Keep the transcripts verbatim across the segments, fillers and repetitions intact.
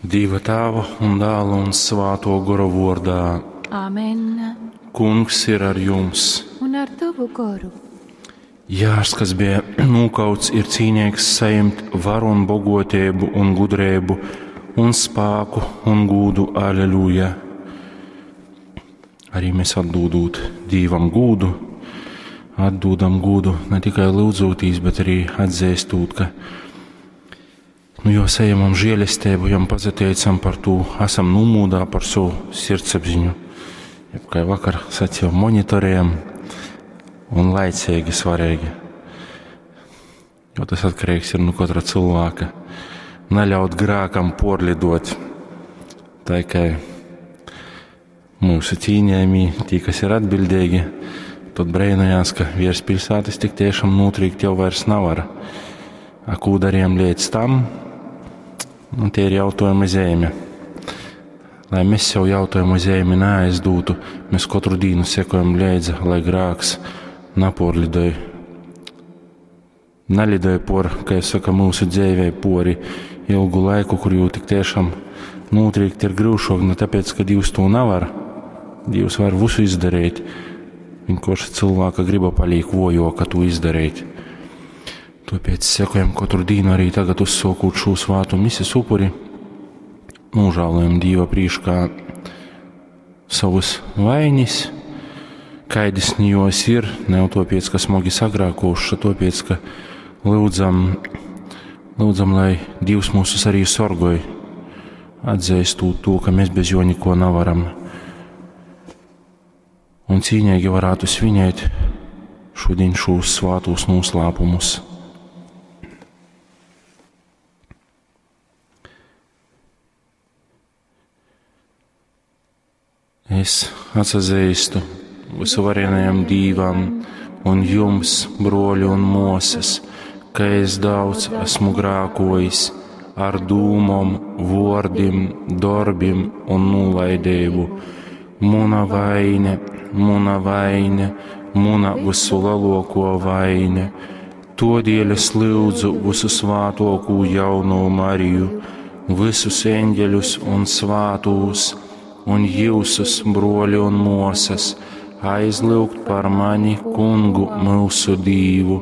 Dieva Tēva un Dēla un Svāto Gora vārdā. Amen. Kungs ir ar jums. Un ar tavu goru. Jārs, kas bija nokauts, ir cīnīgs saņemt varu un bogotību un gudrību un spēku un gūdu. Aleluja! Arī mēs atdūdot Dievam gūdu, atdūdam gūdu ne tikai lūdzotīs, bet arī atzīstot, ka nu, jo saņemam žēlestību, jam pazateicam par to, esam numūdā par savu sirdsapziņu. Jeb, kā vakar sacīju, monitorējam un laicīgi svarīgi. Jo tas atkarīgs ir no katra cilvēka. Neļaut grākam porlidot. Tā kā mūsu cīņējumi, tie, kas ir atbildīgi, tad brēnojās, ka virs pilsētas tik tiešām notrīkt jau vairs nav ar. A, ko darījām līdz tam? Un tie ir jautājumi zeme. Lai mēs sev jautājumu zemi neaizdūtu, mēs katru dienu sekojam līdzi, lai grāks naporlidoja. Nelidoja por, kā es saku, mūsu dzīvē pori ilgu laiku, kur jau tik tiešām notrīkt ir grūšok, ne tāpēc, ka Dievs to nevar. Dievs var visu izdarīt. Vienkārši cilvēka griba paliek vojoka to izdarīt. Tāpēc sekojam katru dienu arī tagad uzsākot šo svātu mises upuri, nožēlojam Dieva priekšā savus vainis, kaidis nijos ir, ne jau tāpēc, ka smagi sagrākoši, tāpēc, ka lūdzam, lūdzam, lai Dievs mūsus arī sorgoj, atzīstot to, ka mēs bez jo neko nevaram. Un cīņīgi varētu svinēt šodien šos svātos noslēpumus. Es atsazīstu visuvarenajam Dīvam un jums, broļi un mosas, ka es daudz esmu grākojis ar dūmom, vordim, darbim un nolaidību. Muna vaine, muna vaine, muna visulielāko vaine. Todēļ es lūdzu visu svātokū jauno Mariju, visus eņģeļus un svātūs, un jūsus, broļi un mosas, aizlūgt par mani kungu mūsu Dīvu.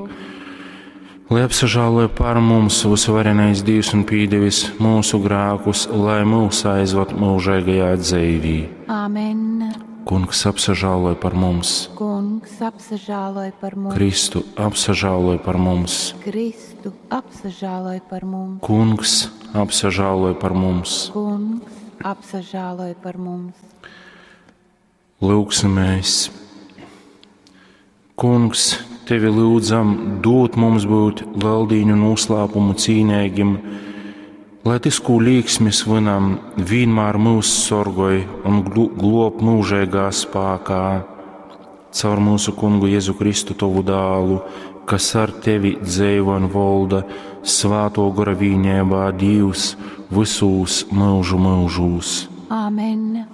Lai apsažāloja par mums visuvarenais Dievs un pīdevis mūsu grākus, lai mūs aizvad mūžīgajā dzīvī. Amen. Kungs apsažāloja par mums, Kungs apsažāloj par mums. Kristu apsažāloja par mums, Kristu apsažāloj par mums. Kungs apsažāloja par mums. Kungs apsažāloj par mums. Lūgsimies! Kungs, tevi lūdzam, dot mums būt leldīņu noslēpumu cīnīgim, lai tas, ko līksmis vinam, vienmēr mūs sorgoj un glob mūžīgā spēkā. Caur mūsu kungu Jēzu Kristu tovu dālu, kas ar tevi dzīvo un valda svāto gora vīnībā Dievs visūs mūžu mūžūs. Amen.